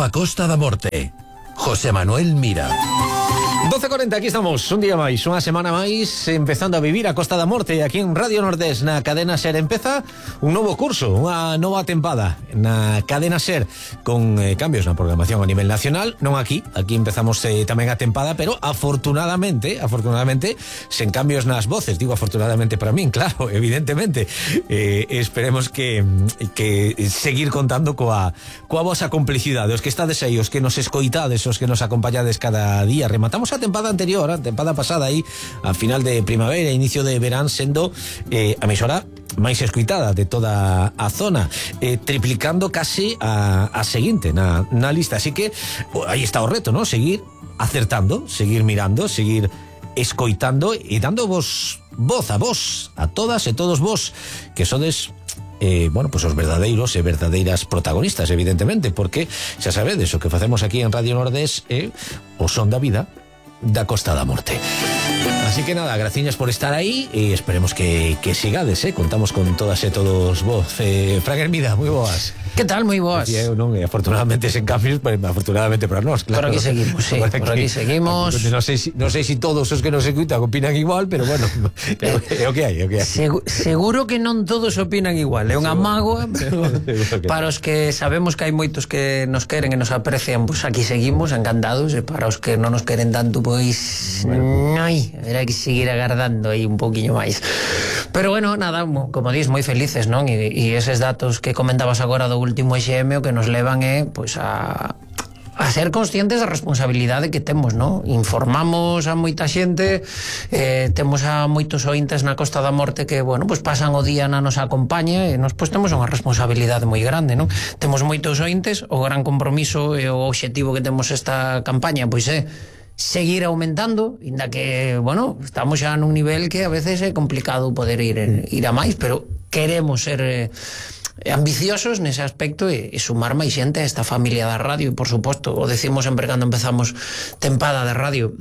Vivindo a Costa da Morte. José Manuel Mira. 12:40, aquí estamos, un día máis, unha semana máis, empezando a vivir a Costa da Morte. Aquí en Radio Nordés, na Cadena Ser, empeza un novo curso, unha nova tempada na Cadena Ser, con cambios na programación a nivel nacional. Non aquí empezamos tamén a tempada, pero afortunadamente, sen cambios nas voces. Digo afortunadamente para min, claro, evidentemente. Esperemos que seguir contando coa vosa complicidade, os que estades aí, os que nos escoitades, os que nos acompañades cada día. Rematamos a tempada anterior, a tempada pasada aí, a final de primavera, inicio de verán, sendo a emisora máis escoitada de toda a zona, triplicando casi a seguinte na lista. Así que aí está o reto, ¿no? Seguir acertando, seguir mirando, seguir escoitando e dando voz a todas e todos vos que sodes pues os verdadeiros e verdadeiras protagonistas, evidentemente, porque xa sabedes, o que facemos aquí en Radio Nordés é o son da vida da Costa da Morte. Así que nada, graciñas por estar aí e esperemos que sigades, contamos con todas e todos vos. Fran Hermida, moi boas. Que tal, moi boas? Non, afortunadamente sen cambios, pero afortunadamente para nós, claro. Por aquí seguimos, sí, por aquí seguimos. Non sei se todos os que nos escutan opinan igual, pero bueno, é o que hai, Seguro que non todos opinan igual, é unha mágoa, pero para os que sabemos que hai moitos que nos queren e nos aprecian, pues aquí seguimos encantados, e para os que non nos queren tanto, pois haberá que seguir agardando aí un poquinho máis. Pero bueno, nada, como dis, moi felices, non? E eses datos que comentabas agora do último EXM o que nos levan pois a ser conscientes da responsabilidade que temos, non? Informamos a moita xente, temos a moitos ointes na Costa da Morte que, bueno, pues pasan o día na nosa compañía e nos pues temos unha responsabilidade moi grande, non? Temos moitos ointes, o gran compromiso e o obxectivo que temos esta campaña, pois seguir aumentando, inda que, bueno, estamos xa nun nivel que a veces é complicado poder ir a máis, pero queremos ser ambiciosos nese aspecto e sumar máis xente a esta familia da radio. E por suposto, o decimos sempre cando empezamos tempada de radio,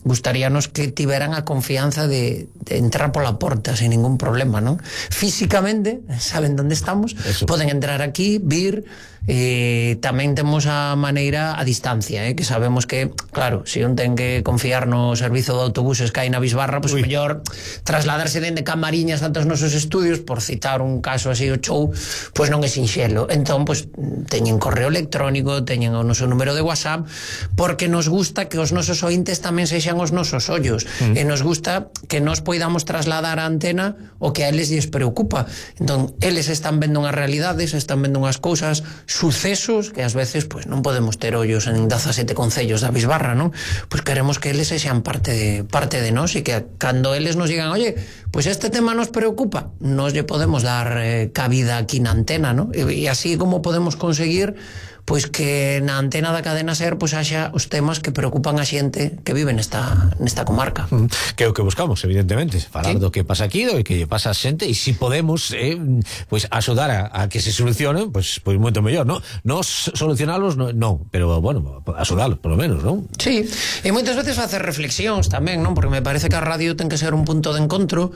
gustaríanos que tiveran a confianza de entrar pola porta sin ningún problema, non? Físicamente, saben onde estamos, poden entrar aquí, vir. Tamén temos a maneira a distancia, que sabemos que, claro, se un ten que confiar no servizo de autobuses que hai na Bisbarra, pois mellor trasladarse dende Camariñas ante os nosos estudios, por citar un caso así o chou, pois non é sinxelo. Entón, pois teñen correo electrónico, teñen o noso número de WhatsApp, porque nos gusta que os nosos ointes tamén sexan os nosos ollos, e nos gusta que nos poidamos trasladar á antena o que a eles lles preocupa. Entón, eles están vendo unhas realidades, están vendo unhas cousas, sucesos que ás veces pues non podemos ter ollos en 17 concellos da Bisbarra, non? Pois queremos que eles sexan parte de nós, e que cando eles nos digan, oye, pois este tema nos preocupa, nos lle podemos dar cabida aquí na antena, non? E así como podemos conseguir pois que na antena da Cadena Ser pois haxa os temas que preocupan a xente que vive nesta comarca. Que é o que buscamos, evidentemente, falar do que pasa aquí, do que pasa a xente, e se podemos pois axudar a que se solucionen, pois moito mellor, non? Nos solucionalos non, pero bueno, axudalos polo menos, non? Sí, e moitas veces facer reflexións tamén, non? Porque me parece que a radio ten que ser un punto de encontro.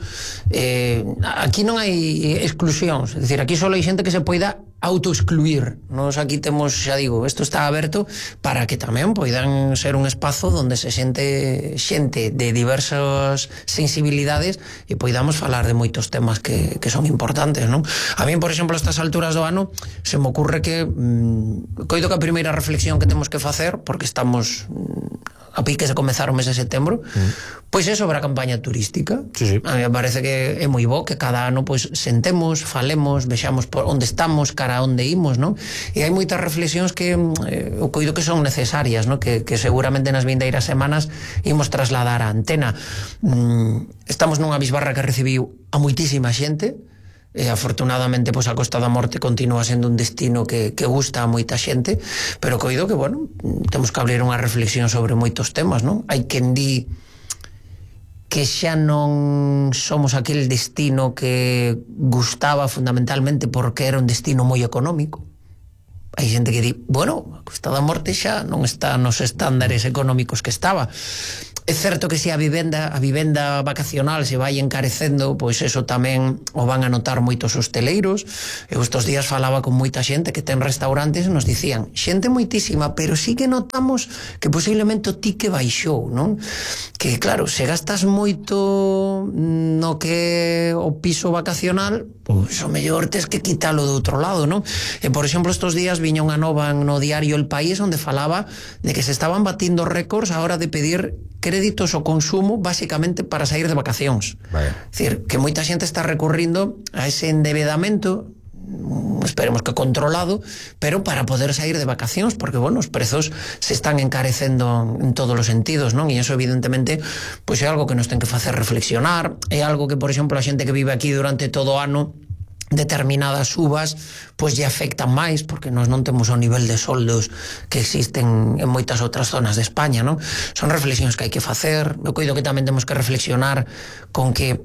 Aquí non hai exclusións, é dicir, aquí só hai xente que se poida autoexcluir. Nos aquí temos, xa digo, isto está aberto para que tamén poidan ser un espazo onde se xente de diversas sensibilidades e poidamos falar de moitos temas que son importantes, non? A mí, por exemplo, a estas alturas do ano se me ocurre que coido que a primeira reflexión que temos que facer, porque estamos a piques de comezar o mes de setembro, pois é sobre a campaña turística. Sí. A mí me parece que é moi bo que cada ano pois sentemos, falemos, vexamos por onde estamos, cara a onde imos, non? E hai moitas reflexións que eu coido que son necesarias, non? Que seguramente nas vindeiras semanas imos trasladar á antena. Estamos nunha Bisbarra que recibiu a moitísima xente, e afortunadamente pois a Costa da Morte continúa sendo un destino que gusta a moita xente, pero coido que, bueno, temos que abrir unha reflexión sobre moitos temas, non? Hai quen di que xa non somos aquel destino que gustaba fundamentalmente porque era un destino moi económico. Hai xente que di, bueno, a Costa da Morte xa non está nos estándares económicos que estaba. É certo que se a vivenda vacacional se vai encarecendo, pois eso tamén o van a notar moitos hosteleiros. Eu estes días falaba con moita xente que ten restaurantes e nos dicían, xente moitísima, pero sí que notamos que posiblemente o tique baixou, non? Que claro, se gastas moito no que o piso vacacional, pois o mellor tes que quitalo do outro lado, non? E por exemplo, estes días viña unha nova no diario El País onde falaba de que se estaban batindo récords a hora de pedir créditos ao consumo basicamente para sair de vacacións. Vale. É dicir, que moita xente está recurrindo a ese endevedamento, esperemos que controlado, pero para poder sair de vacacións, porque, bueno, os prezos se están encarecendo en todos os sentidos, non? E iso, evidentemente, pois é algo que nos ten que facer reflexionar, é algo que, por exemplo, a xente que vive aquí durante todo o ano, determinadas subas pois lle afectan máis porque nós non temos o nivel de soldos que existen en moitas outras zonas de España, non? Son reflexións que hai que facer. Eu coido que tamén temos que reflexionar con que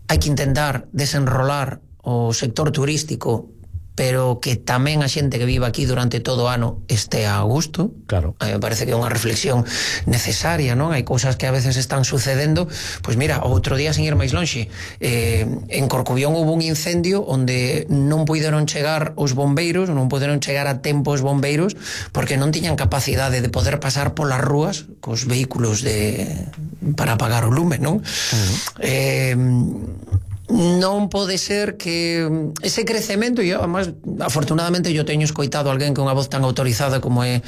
hai que intentar desenrolar o sector turístico, pero que tamén a xente que vive aquí durante todo o ano este a gusto. Claro. A mí me parece que é unha reflexión necesaria, non? Hai cousas que a veces están sucedendo. Pois mira, outro día, sen ir máis lonxe, en Corcubión houve un incendio onde non puideron chegar os bombeiros, non puideron chegar a tempo os bombeiros porque non tiñan capacidade de poder pasar polas rúas cos vehículos para apagar o lume, non? Non pode ser que ese crecemento, e además afortunadamente eu teño escoitado alguén con unha voz tan autorizada como é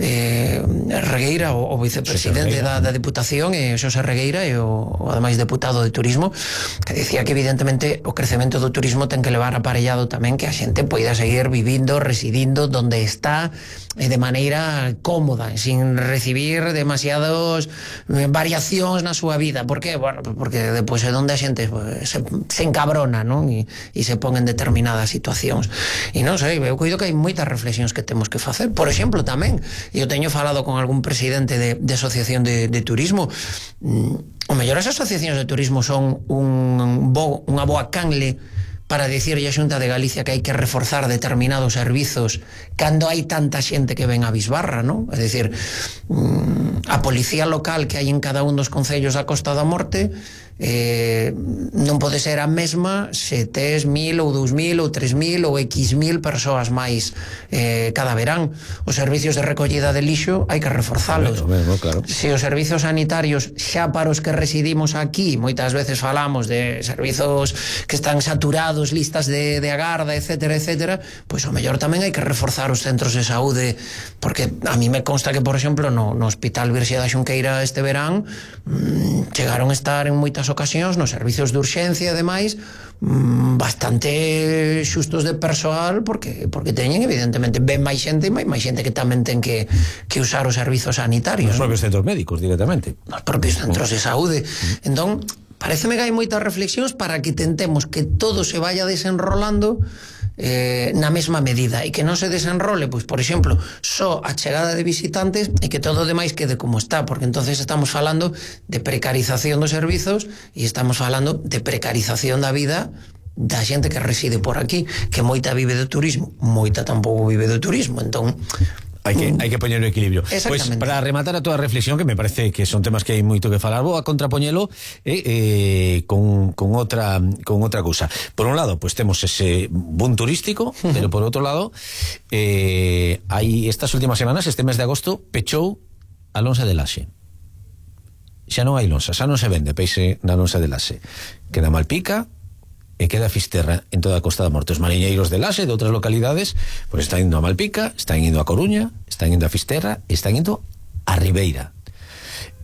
Regueira, o vicepresidente da Diputación, e Xosé Regueira, e ademais deputado de Turismo, que dicía que evidentemente o crecemento do turismo ten que levar aparellado tamén que a xente poida seguir vivindo, residindo donde está de maneira cómoda, sin recibir demasiados variacións na súa vida. Por qué? Bueno, porque depois é onde a xente se encabrona, non? E se pon en determinadas situacións. E non sei, eu coido que hai moitas reflexións que temos que facer. Por exemplo, tamén, eu teño falado con algún presidente de asociación de turismo, o mellor as asociacións de turismo son unha boa canle para dicirlle a Xunta de Galicia que hai que reforzar determinados servizos cando hai tanta xente que ven a bisbarra, non? É dicir, a policía local que hai en cada un dos concellos da Costa da Morte non pode ser a mesma se tes 1.000 ou 2.000 ou 3.000 ou x mil persoas máis cada verán. Os servicios de recollida de lixo hai que reforzalos. Claro. Se os servizos sanitarios xa para os que residimos aquí, moitas veces falamos de servizos que están saturados, listas de agarda, etcétera, etcétera, pois o mellor tamén hai que reforzar os centros de saúde, porque a mí me consta que, por exemplo, no Hospital Virxe da Xunqueira este verán chegaron a estar en moitas ocasións nos servizos de urxencia e demais bastante xustos de persoal porque teñen evidentemente ben máis xente que tamén ten que usar os servizos sanitarios. Os propios centros médicos directamente. Os propios centros de saúde. Entón, pareceme que hai moitas reflexións para que tentemos que todo se vaya desenrolando na mesma medida e que non se desenrole, pois, por exemplo, só a chegada de visitantes e que todo o demais quede como está, porque entonces estamos falando de precarización dos servizos e estamos falando de precarización da vida da xente que reside por aquí, que moita vive do turismo, moita tampouco vive do turismo, entón hai que poñer o equilibrio. Pois para rematar a toda a reflexión, que me parece que son temas que hai moito que falar, vou a contrapoñelo con outra cousa. Por un lado, pois temos ese boom turístico, pero por outro lado, hai estas últimas semanas, este mes de agosto, pechou a lonxa de Laxe. Xa non hai lonxa, xa non se vende peixe na lonxa de Laxe. Queda Malpica e queda Fisterra en toda a Costa da Morte. Os mariñeiros de Laxe, de outras localidades, pois están indo a Malpica, están indo a Coruña, están indo a Fisterra e están indo a Ribeira.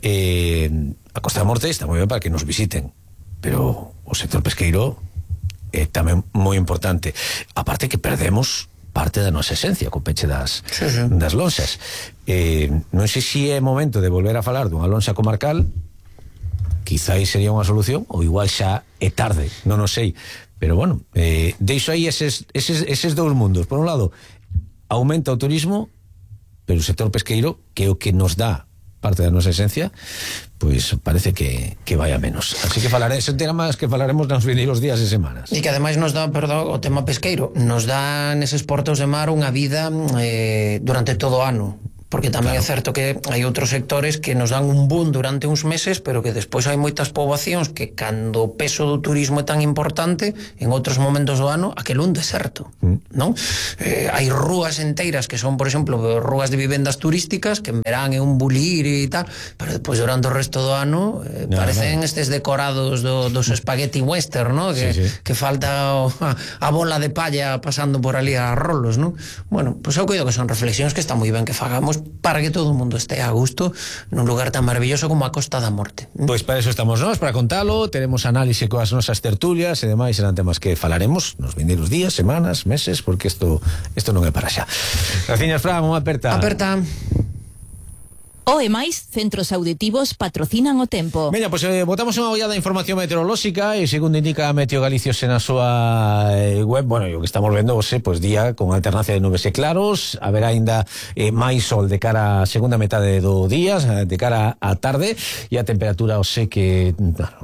A Costa da Morte está moi ben para que nos visiten, pero o sector pesqueiro é tamén moi importante. Aparte que perdemos parte da nosa esencia co peche das lonxas. Non sei se é momento de volver a falar dunha lonxa comarcal. Quizáis sería unha solución, ou igual xa é tarde, non o sei, pero bueno, deixo aí eses dous mundos. Por un lado, aumenta o turismo, pero o sector pesqueiro, que é o que nos dá parte da nosa esencia, pois parece que vai a menos. Así que son temas que falaremos nos vindeiros días e semanas. E que ademais nos dá, o tema pesqueiro, nos dá neses portos de mar unha vida durante todo o ano. porque tamén é certo que hai outros sectores que nos dan un boom durante uns meses, pero que despois hai moitas poboacións que cando o peso do turismo é tan importante, en outros momentos do ano aquel un deserto, non? Hai rúas enteiras que son, por exemplo, rúas de vivendas turísticas que en verán é un bulir e tal, pero despois durante o resto do ano parecen estes decorados dos espagueti western, ¿no? Que falta a bola de palla pasando por ali a rolos, ¿no? Bueno, pues eu coido que son reflexións que está moi ben que fagamos para que todo o mundo este a gusto nun lugar tan maravilloso como a Costa da Morte. Pois para eso estamos nós, para contalo. Teremos análise coas nosas tertulias e demais, serán temas que falaremos nos vindeiros días, semanas, meses, porque isto non é para xa. Graciñas, Fran, unha aperta. Aperta. OE máis centros auditivos patrocinan o tempo. Veña, pois botamos unha ollada de información meteorolóxica e segundo indica Meteo Galicia na súa web, bueno, o que estamos vendo hoxe, pois día con alternancia de nubes e claros, haberá aínda máis sol de cara a segunda metade do día, de cara á tarde, e a temperatura hoxe que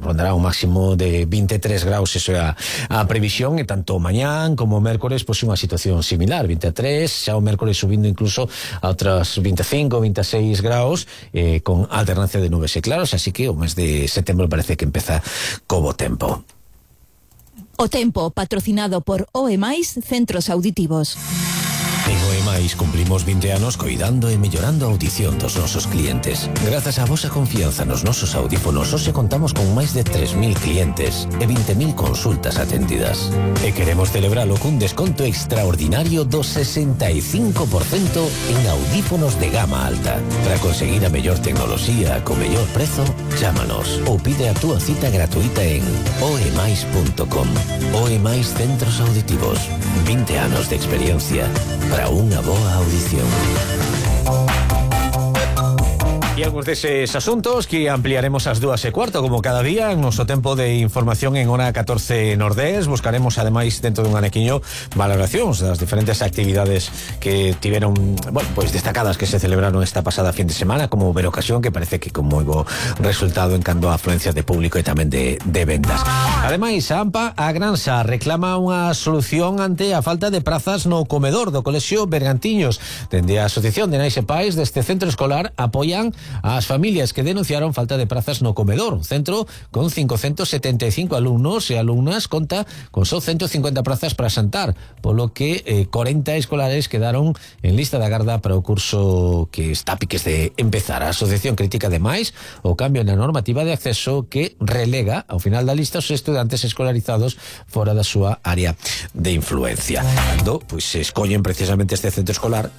rondará un máximo de 23 graus, eso é a previsión, e tanto mañán como mércores pois unha situación similar, 23, xa o mércores subindo incluso a outras 25, 26 graus, con alternancia de nubes e claros, así que o mes de setembro parece que empeza como tempo. O tempo patrocinado por OE máis centros auditivos. En OE máis cumplimos 20 anos coidando e mellorando a audición dos nosos clientes. Grazas á vosa confianza nos nosos audífonos, hoxe contamos con máis de 3.000 clientes e 20.000 consultas atendidas. E queremos celebralo cun desconto extraordinario do 65% en audífonos de gama alta. Para conseguir a mellor tecnoloxía co mellor prezo, chámanos ou pide a túa cita gratuita en oemais.com. OE máis centros auditivos. 20 anos de experiencia para unha boa audición. E algúns deses asuntos que ampliaremos ás 2:15, como cada día, en noso tempo de información en hora 14 Nordés. Buscaremos, ademais, dentro dun anequiño, valoracións das diferentes actividades que tiveron, bueno, pois destacadas que se celebraron esta pasada fin de semana, como Verocasión, que parece que con moi bo resultado en canto a afluencia de público e tamén de vendas. Ademais, a AMPA, a Granxa, reclama unha solución ante a falta de prazas no comedor do Colexio Bergantiños. Dende a Asociación de Nais e Pais deste centro escolar apoian ás familias que denunciaron falta de prazas no comedor. O centro, con 575 alumnos e alumnas, conta con só 150 prazas para xantar, polo que 40 escolares quedaron en lista de agarda para o curso que está a piques de empezar. A asociación critica ademais o cambio na normativa de acceso que relega ao final da lista os estudantes escolarizados fora da súa área de influencia, cando pois se escollen precisamente este centro escolar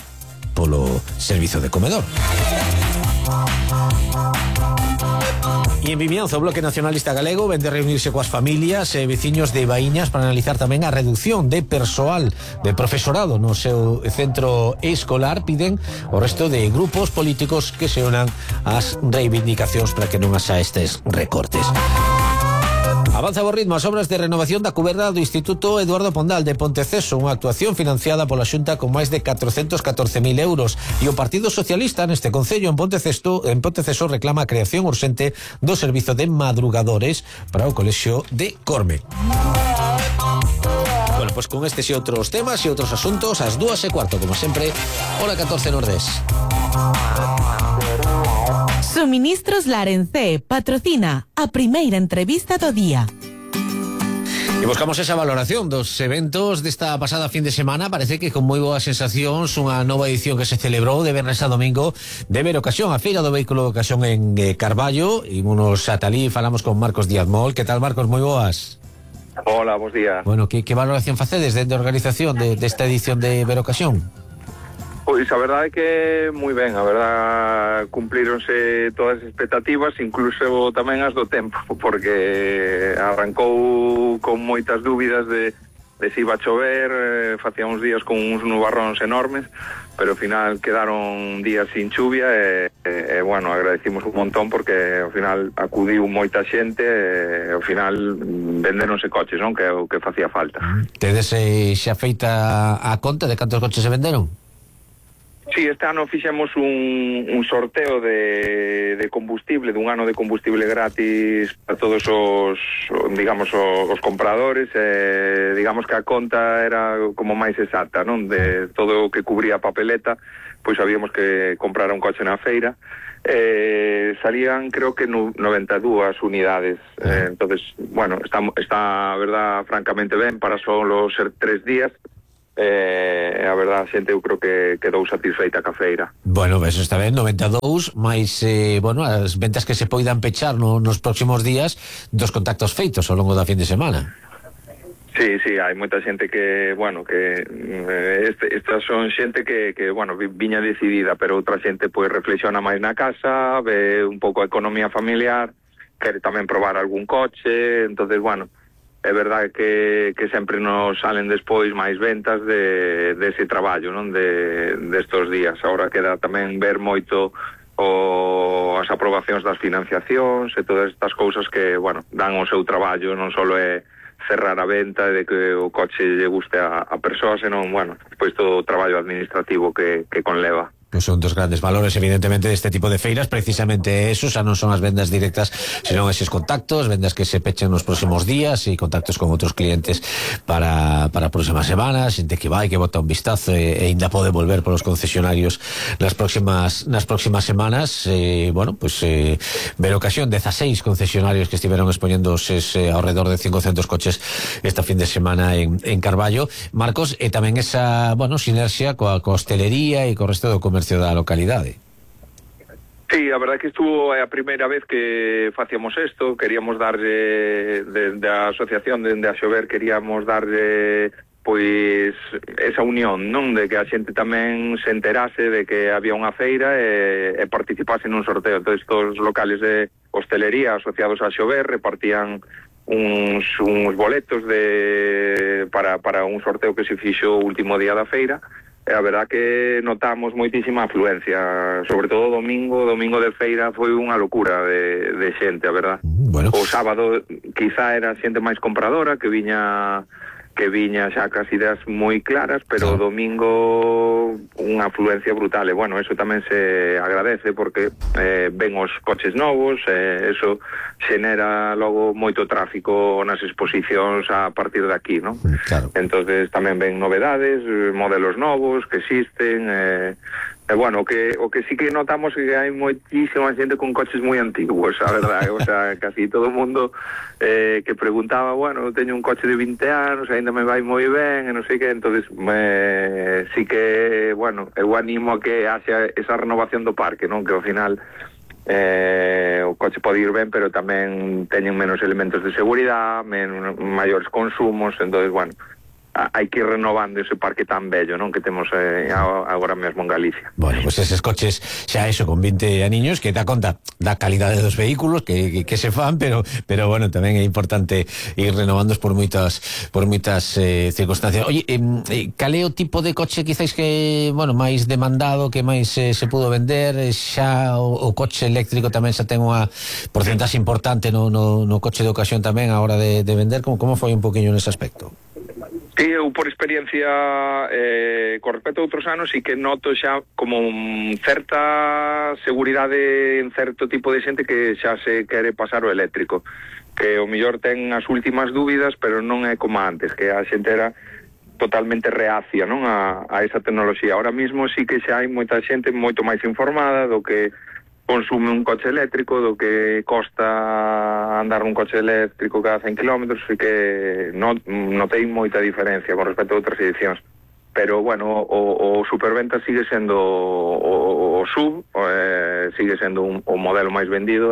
polo servizo de comedor. E en Vimianzo, o Bloque Nacionalista Galego vende reunirse coas familias e veciños de Baíñas para analizar tamén a reducción de persoal, de profesorado no seu centro escolar. Piden o resto de grupos políticos que se unan ás reivindicacións para que non haxa estes recortes. Avanza o ritmo as obras de renovación da cuberda do Instituto Eduardo Pondal de Ponteceso, unha actuación financiada pola Xunta con máis de 414.000 euros, e o Partido Socialista neste concello en Ponteceso reclama a creación urxente do servizo de madrugadores para o colexio de Corme. Bueno, pois con estes e outros temas e outros asuntos ás 2:15, como sempre, hora 14 Nordés. Suministros Larencé patrocina a primeira entrevista do día. E buscamos esa valoración dos eventos desta pasada fin de semana. Parece que con moi boas sensacións, unha nova edición que se celebrou de venres a domingo de Verocasión, a Feira do Vehículo de Ocasión en Carballo. E unos atalí, falamos con Marcos Díaz Mol. Que tal, Marcos? Moi boas. Hola, bos días. Bueno, que valoración facedes dende a organización desta edición de Verocasión? Pois a verdade é que moi ben, a verdade cumplíronse todas as expectativas, incluso tamén as do tempo, porque arrancou con moitas dúbidas de se iba a chover, facía uns días con uns nubarróns enormes, pero ao final quedaron días sin chuvia e bueno, agradecimos un montón porque ao final acudiu moita xente e ao final vendéronse coches, non? Que é o que facía falta. Tedes xa feita a conta de cantos coches se venderon? Sí, este ano fixemos un sorteo de combustible, dun ano de combustible gratis para todos os, digamos, os compradores. Digamos que a conta era como máis exacta, non? De todo o que cubría a papeleta, pois sabíamos que comprar un coche na feira. Salían, creo que 92 unidades. Entonces, bueno, está, a verdad, francamente ben para solo ser 3 días. A verdade, a xente eu creo que quedou satisfeita ca feira. Bueno, eso está ben, 92 máis, bueno, as ventas que se poidan pechar nos próximos días dos contactos feitos ao longo da fin de semana. Sí, hai moita xente que, bueno, que estas son xente que bueno, viña decidida, pero outra xente pois reflexiona máis na casa, ve un pouco a economía familiar, quere tamén probar algún coche. Entonces, bueno, é verdade que sempre nos salen despois máis ventas dese traballo, non, destos días. Agora queda tamén ver moito as aprobacións das financiacións e todas estas cousas que, bueno, dan o seu traballo. Non só é cerrar a venta de que o coche lle guste a persoa, senón, bueno, despois todo o traballo administrativo que conleva. Pues son dos grandes valores, evidentemente, de este tipo de feiras, precisamente eso, xa non son as vendas directas, senón eses contactos, vendas que se pechen nos próximos días e contactos con outros clientes para próximas semanas, xente que vai, que bota un vistazo e ainda pode volver polos concesionarios nas próximas semanas. Bueno, pues ver ocasión, 16 concesionarios que estiveron expoñéndose ao redor de 500 coches esta fin de semana en Carballo, Marcos, e tamén esa, bueno, sinerxia coa hostelería e co resto do comercio da localidade. Sí, a verdade que estuvo a primeira vez que facíamos isto. Queríamos darlle, da asociación de A Xover, queríamos darlle pois esa unión, non, de que a xente tamén se enterase de que había unha feira e participase nun sorteo. Entón, estos locales de hostelería asociados a Xover repartían uns boletos para un sorteo que se fixo o último día da feira. A verdad que notamos moitísima afluencia, sobre todo domingo de feira foi unha locura de xente, a verdad. Bueno. O sábado quizá era xente máis compradora que viña xa cas ideas moi claras, pero o domingo unha afluencia brutal. E bueno, eso tamén se agradece porque ven os coches novos, eso xenera logo moito tráfico nas exposicións a partir de aquí, non? Claro. Entonces tamén ven novedades, modelos novos que existen, bueno, o que sí que notamos é que hai moitísima xente con coches moi antiguos, a verdade. O sea, casi todo o mundo que preguntaba, bueno, teño un coche de 20 anos, ainda me vai moi ben, e non sei que. Entonces sí que, bueno, eu animo a que haxa esa renovación do parque, non? Que ao final o coche pode ir ben, pero tamén teñen menos elementos de seguridade, maiores consumos. Entonces, bueno, hai que ir renovando ese parque tan bello, non, que temos agora mesmo en Galicia. Bueno, pues eses coches xa eso con 20 aniños que dá conta da calidade dos vehículos que se fan, pero bueno, tamén é importante ir renovándoos por moitas circunstancias. Oye, cal é o tipo de coche quizáis que, bueno, máis demandado, que máis se pudo vender? Xa o coche eléctrico tamén xa ten unha porcentaxe importante no coche de ocasión tamén a hora de vender. Como foi un poquinho nese aspecto? Sí, eu por experiencia con respecto a outros anos sí que noto xa como certa seguridade en certo tipo de xente que xa se quere pasar o eléctrico, que o mellor ten as últimas dúbidas, pero non é como antes, que a xente era totalmente reacia, non, a esa tecnoloxía. Ahora mismo sí que xa hai moita xente moito máis informada do que consume un coche eléctrico, do que costa andar un coche eléctrico cada 100 km, e que non ten moita diferencia con respecto a outras edicións. Pero, bueno, o superventa sigue sendo o SUV, sigue sendo o modelo máis vendido,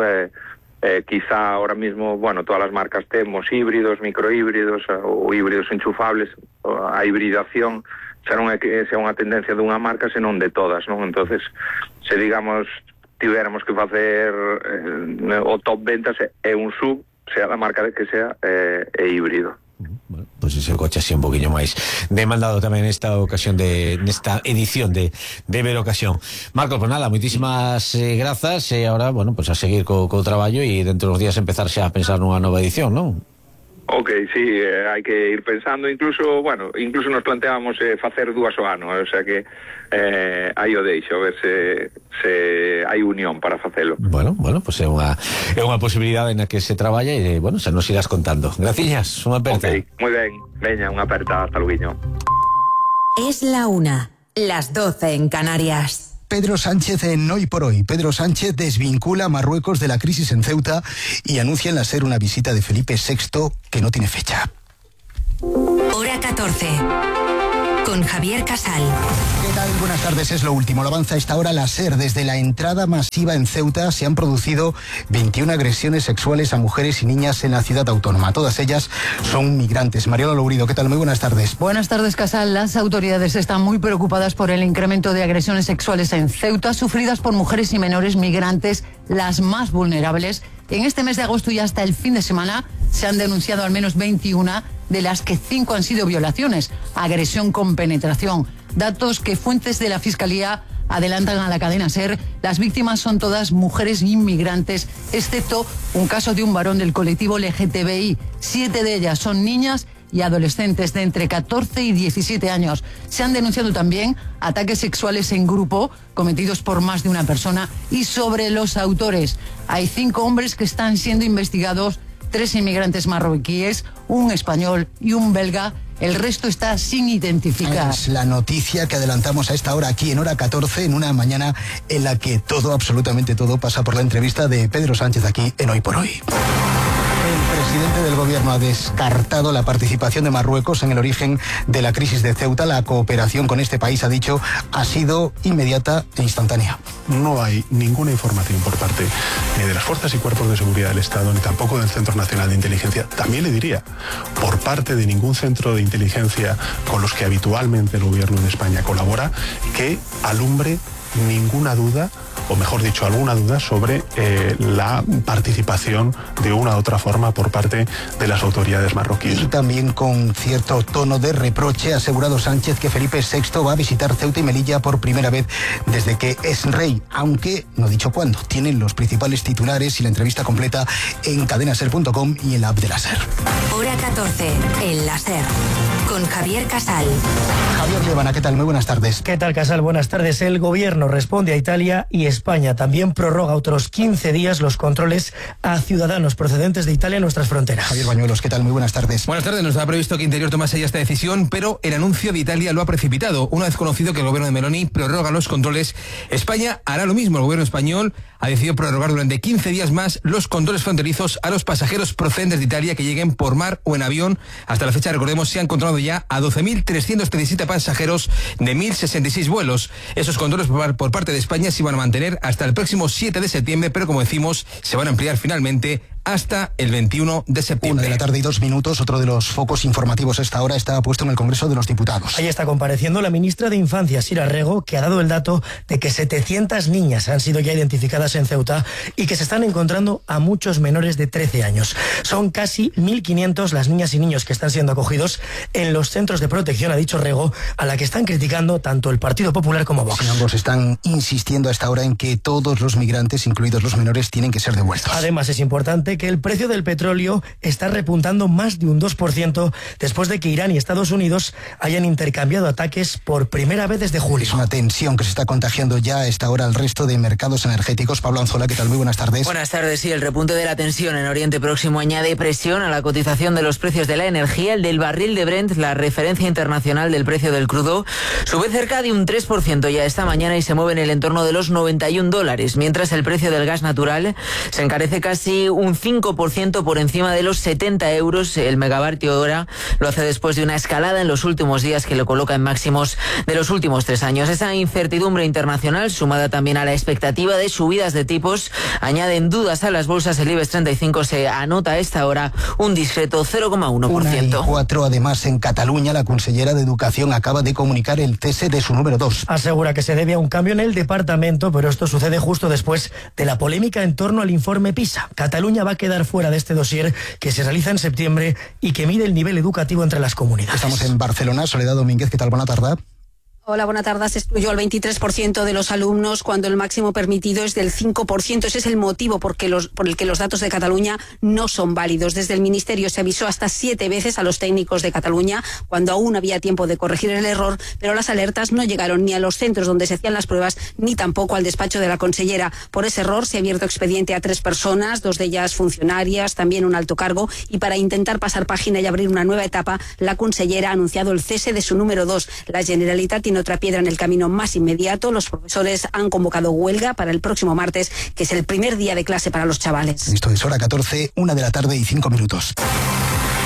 quizá ahora mismo, bueno, todas as marcas temos híbridos, microhíbridos ou híbridos enchufables. A hibridación xa non é que sea unha tendencia dunha marca, senón de todas, non? Entonces, se digamos tivéramos que facer o top ventas é un SUV, sea da marca que sea, é híbrido. Bueno, pues ese coche así un poquillo máis demandado tamén nesta ocasión nesta edición de Ver Ocasión. Marcos, pues nada, moitísimas grazas, e ahora, bueno, pues a seguir co traballo e dentro dos días empezar xa a pensar nunha nova edición, non? Ok, sí, hai que ir pensando, incluso nos planteábamos facer 2 ao ano, o sea que aí o deixo, a ver se hai unión para facelo. Bueno, pues é unha posibilidade na que se traballa e, bueno, se nos irás contando. Gracias, unha aperta. Ok, moi ben, veña, unha aperta, hasta luguiño. Es la 1, las 12 en Canarias. Pedro Sánchez en Hoy por Hoy. Pedro Sánchez desvincula a Marruecos de la crisis en Ceuta y anuncia en la SER una visita de Felipe VI que no tiene fecha. Hora 14. Con Javier Casal. ¿Qué tal? Buenas tardes, es lo último. Lo avanza a esta hora la SER. Desde la entrada masiva en Ceuta se han producido 21 agresiones sexuales a mujeres y niñas en la ciudad autónoma. Todas ellas son migrantes. Mariola Lourido, ¿qué tal? Muy buenas tardes. Buenas tardes, Casal. Las autoridades están muy preocupadas por el incremento de agresiones sexuales en Ceuta sufridas por mujeres y menores migrantes, las más vulnerables. En este mes de agosto y hasta el fin de semana se han denunciado al menos 21, de las que 5 han sido violaciones, agresión con penetración. Datos que fuentes de la Fiscalía adelantan a la cadena SER. Las víctimas son todas mujeres inmigrantes, excepto un caso de un varón del colectivo LGTBI. 7 de ellas son niñas y adolescentes de entre 14 y 17 años. Se han denunciado también ataques sexuales en grupo cometidos por más de una persona. Y sobre los autores, hay 5 hombres que están siendo investigados, 3 inmigrantes marroquíes, un español y un belga. El resto está sin identificar. Es la noticia que adelantamos a esta hora aquí en Hora 14, en una mañana en la que todo, absolutamente todo, pasa por la entrevista de Pedro Sánchez aquí en Hoy por Hoy. El presidente del gobierno ha descartado la participación de Marruecos en el origen de la crisis de Ceuta. La cooperación con este país, ha dicho, ha sido inmediata e instantánea. No hay ninguna información por parte ni de las fuerzas y cuerpos de seguridad del Estado, ni tampoco del Centro Nacional de Inteligencia. También le diría, por parte de ningún centro de inteligencia con los que habitualmente el gobierno de España colabora, que alumbre ninguna duda, o mejor dicho, alguna duda sobre la participación de una u otra forma por parte de las autoridades marroquíes. Y también con cierto tono de reproche ha asegurado Sánchez que Felipe VI va a visitar Ceuta y Melilla por primera vez desde que es rey, aunque no ha dicho cuándo. Tienen los principales titulares y la entrevista completa en cadenaser.com y en la app de la SER. Hora 14, en la SER, con Javier Casal. Javier Llévana, ¿qué tal? Muy buenas tardes. ¿Qué tal, Casal? Buenas tardes. El gobierno responde a Italia y España también prorroga otros 15 días los controles a ciudadanos procedentes de Italia en nuestras fronteras. Javier Bañuelos, ¿qué tal? Muy buenas tardes. Buenas tardes. No estaba previsto que Interior tomase ya esta decisión, pero el anuncio de Italia lo ha precipitado. Una vez conocido que el gobierno de Meloni prorroga los controles, España hará lo mismo. El gobierno español ha decidido prorrogar durante 15 días más los controles fronterizos a los pasajeros procedentes de Italia que lleguen por mar o en avión. Hasta la fecha, recordemos, se han controlado ya a 12.337 pasajeros de 1.066 vuelos. Esos controles por parte de España se iban a mantener hasta el próximo 7 de septiembre, pero como decimos, se van a ampliar finalmente hasta el 21 de septiembre. 1:02 Otro de los focos informativos a esta hora está puesto en el Congreso de los Diputados. Ahí está compareciendo la ministra de Infancia, Sira Rego, que ha dado el dato de que 700 niñas han sido ya identificadas en Ceuta y que se están encontrando a muchos menores de 13 años. Son casi 1.500 las niñas y niños que están siendo acogidos en los centros de protección, ha dicho Rego, a la que están criticando tanto el Partido Popular como Vox. Sí, ambos están insistiendo a esta hora en que todos los migrantes, incluidos los menores, tienen que ser devueltos. Además, es importante que el precio del petróleo está repuntando más de un 2% después de que Irán y Estados Unidos hayan intercambiado ataques por primera vez desde julio. Es una tensión que se está contagiando ya a esta hora al resto de mercados energéticos. Pablo Anzola, ¿qué tal? Muy buenas tardes. Buenas tardes. Sí, el repunte de la tensión en Oriente Próximo añade presión a la cotización de los precios de la energía. El del barril de Brent, la referencia internacional del precio del crudo, sube cerca de un 3% ya esta mañana y se mueve en el entorno de los $91, mientras el precio del gas natural se encarece casi un 5% por encima de los 70 euros el megavatio hora. Lo hace después de una escalada en los últimos días que lo coloca en máximos de los últimos 3 años. Esa incertidumbre internacional, sumada también a la expectativa de subidas de tipos, añaden dudas a las bolsas. El IBEX 35 se anota a esta hora un discreto 0,1%. 1:04. Además, en Cataluña, la consellera de Educación acaba de comunicar el cese de su número 2. Asegura que se debe a un cambio en el departamento, pero esto sucede justo después de la polémica en torno al informe PISA. Cataluña va a quedar fuera de este dossier que se realiza en septiembre y que mide el nivel educativo entre las comunidades. Estamos en Barcelona. Soledad Domínguez, ¿qué tal? Buena tarde. Hola, buenas tardes. Se excluyó al 23% de los alumnos cuando el máximo permitido es del 5%. Ese es el motivo por el que los datos de Cataluña no son válidos. Desde el Ministerio se avisó hasta 7 veces a los técnicos de Cataluña cuando aún había tiempo de corregir el error, pero las alertas no llegaron ni a los centros donde se hacían las pruebas ni tampoco al despacho de la consellera. Por ese error se ha abierto expediente a 3 personas, 2 de ellas funcionarias, también un alto cargo, y para intentar pasar página y abrir una nueva etapa, la consellera ha anunciado el cese de su número 2. La Generalitat tiene otra piedra en el camino más inmediato. Los profesores han convocado huelga para el próximo martes, que es el primer día de clase para los chavales. Esto es hora 14, 1 de la tarde y 5 minutos.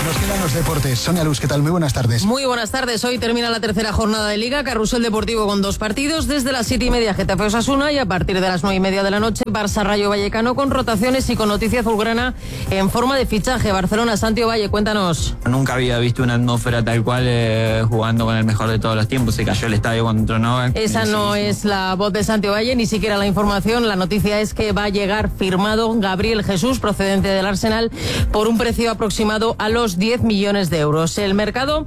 Nos quedan los deportes. Sonia Luz, ¿qué tal? Muy buenas tardes. Muy buenas tardes. Hoy termina la tercera jornada de Liga. Carrusel Deportivo con 2 partidos. Desde las 7:30 Getafe Osasuna y a partir de las 9:30 de la noche Barça Rayo Vallecano, con rotaciones y con noticia azulgrana en forma de fichaje. Barcelona, Santi Ovalle, cuéntanos. Nunca había visto una atmósfera tal cual jugando con el mejor de todos los tiempos. Se cayó el estadio cuando entró. Esa no es la voz de Santi Ovalle, ni siquiera la información. La noticia es que va a llegar firmado Gabriel Jesús, procedente del Arsenal, por un precio aproximado a los 10 millones de euros. El mercado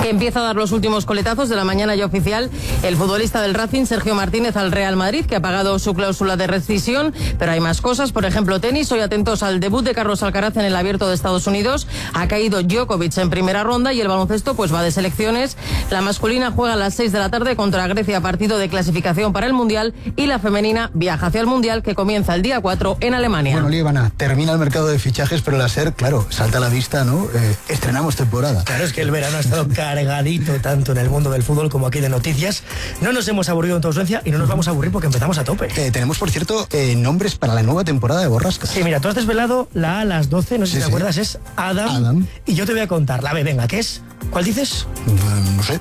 que empieza a dar los últimos coletazos de la mañana ya oficial. El futbolista del Racing, Sergio Martínez, al Real Madrid, que ha pagado su cláusula de rescisión, pero hay más cosas, por ejemplo tenis. Hoy atentos al debut de Carlos Alcaraz en el Abierto de Estados Unidos. Ha caído Djokovic en primera ronda y el baloncesto pues va de selecciones. La masculina juega a las 6 de la tarde contra Grecia, partido de clasificación para el Mundial, y la femenina viaja hacia el Mundial, que comienza el día 4 en Alemania. Bueno, Líbana, termina el mercado de fichajes, pero la SER, claro, salta a la vista, ¿no? Estrenamos temporada. Claro, es que el verano ha estado cargadito tanto en el mundo del fútbol como aquí de noticias. No nos hemos aburrido en tu ausencia y no nos vamos a aburrir porque empezamos a tope. Tenemos, por cierto, nombres para la nueva temporada de Borrascas. Sí, mira, tú has desvelado la A a las 12, no sé si te acuerdas, es Adam. Y yo te voy a contar la B, venga, ¿qué es? ¿Cuál dices? No sé.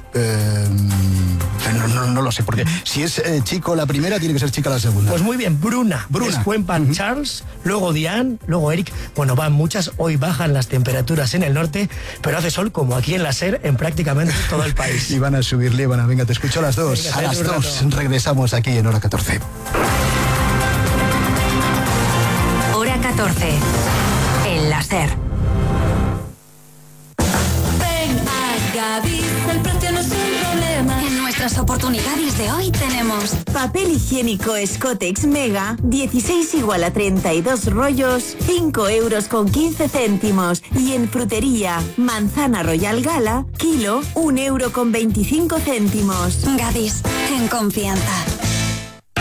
No lo sé, porque si es chico la primera, tiene que ser chica la segunda. Pues muy bien, Bruna. Después van Charles, luego Diane, luego Eric. Bueno, van muchas. Hoy bajan las temperaturas en el norte, pero hace sol como aquí en la SER en prácticamente todo el país. Y van a subir, Líbana. Venga, te escucho a las 2. Venga, a las 2 regresamos aquí en hora 14. Hora 14. En la SER. Ven a Gadis, el precio no es un problema. En nuestras oportunidades de hoy tenemos papel higiénico Scottex Mega, 16 igual a 32 rollos, 5 euros con 15 céntimos. Y en frutería, manzana Royal Gala, kilo, 1 euro con 25 céntimos. Gadis, en confianza.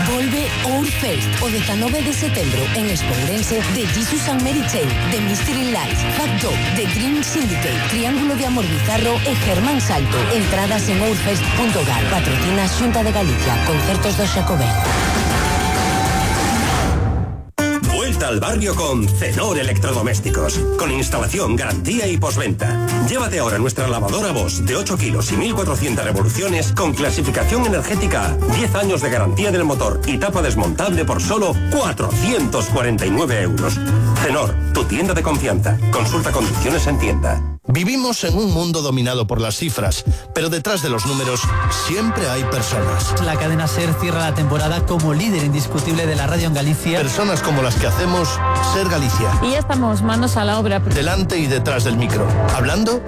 Volve Outfest o 19 de setembro en Espourense de Jesus and Mary Chain, de Mystery Lights, Fat Dog, The Dream Syndicate, Triángulo de Amor Bizarro e Germán Salto. Entradas en outfest.gal. Patrocina Xunta de Galicia. Concertos do Xacobeo. Vuelta al barrio con Cenor Electrodomésticos. Con instalación, garantía y postventa. Llévate ahora nuestra lavadora Bosch de 8 kilos y 1400 revoluciones con clasificación energética, 10 años de garantía del motor y tapa desmontable por solo 449 euros. Cenor, tu tienda de confianza. Consulta condiciones en tienda. Vivimos en un mundo dominado por las cifras, pero detrás de los números siempre hay personas. La cadena SER cierra la temporada como líder indiscutible de la radio en Galicia. Personas como las que hacemos SER Galicia. Y ya estamos manos a la obra. Delante y detrás del micro, hablando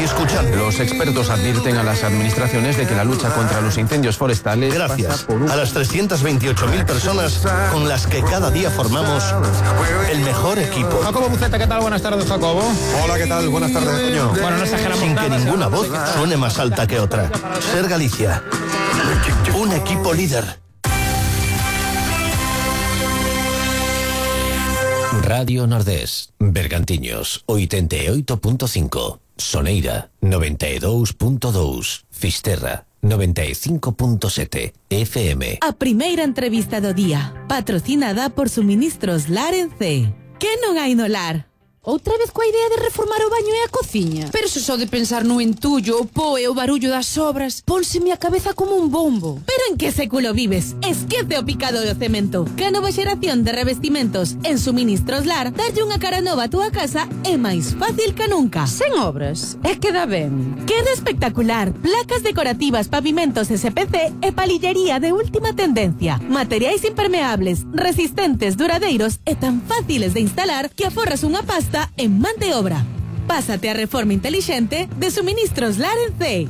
y escuchando. Los expertos advierten a las administraciones de que la lucha contra los incendios forestales... Gracias a las 328.000 personas con las que cada día formamos el mejor equipo. Jacobo Buceta, ¿qué tal? Buenas tardes, Jacobo. Hola, ¿qué tal? Buenas tardes, Toño. Bueno, no exageramos sin nada, que ninguna voz suene más alta que otra. SER Galicia, un equipo líder. Radio Nordés, Bergantiños, 88.5, Soneira, 92.2, Fisterra, 95.7 FM. A primeira entrevista do día, patrocinada por Suministros Larense. Que non hai no lar? Outra vez coa idea de reformar o baño e a cociña. Pero se só de pensar no entullo, o po e o barullo das obras, pónseme a cabeza como un bombo. Pero en que século vives? Esquece o picado do cemento. Que a nova xeración de revestimentos en Suministros Lar, darlle unha cara nova a túa casa é máis fácil que nunca. Sen obras, é que dá ben. Queda espectacular. Placas decorativas, pavimentos SPC e palillería de última tendencia. Materiais impermeables, resistentes, duradeiros e tan fáciles de instalar que aforras unha pasta en man de obra. Pásate a reforma inteligente de Suministros Larense.